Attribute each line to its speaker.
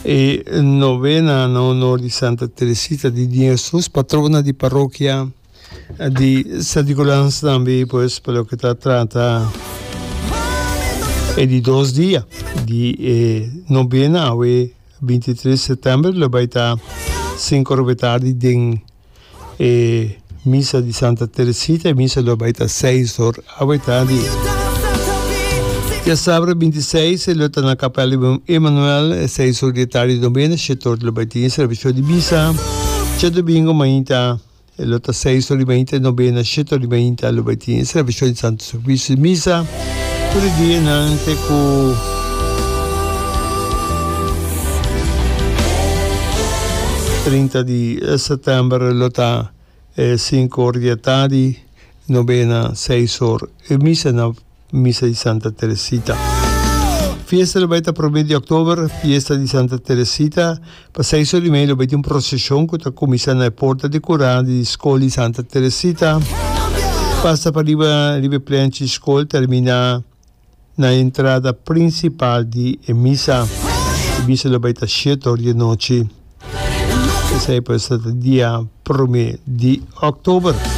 Speaker 1: E novena na honor di Santa Teresita di Niño Hesus, patrona di parokia di San Nicolas tambe pues pa loke ta trata e di dos dia di e novena awe 23 september lo bai ta 5 ora tardi den E misa di Santa Teresita, e misa lo bai ta seis or awe tardi. Diasabra 26 e lo ta na Kapel Emanuel, e seis or di e tardi novena, shete or lo bai tin e servisio di misa. Djadomingo mainta e lo ta seis or di mainta e novena, shete or di mainta lo bai tin e servisio di Santo Sacrificio di misa. Tur e dianan te ku 30 di sètèmber lo ta e sinku or di atardi, nobena seis or e misa na Misa di Santa Teresita. Fiesta lo bai ta promé di òktober, fiesta di Santa Teresita. Pa seis or i mei lo bai tin un proseshon ku ta kuminsá na e porta di kurá di skol di Santa Teresita, pasa pa riba riba e plenchi di skol terminá na e entrada prinsipal di e misa. E misa lo bai ta shete or di anochi. Esei pues ta dia promé di òktober.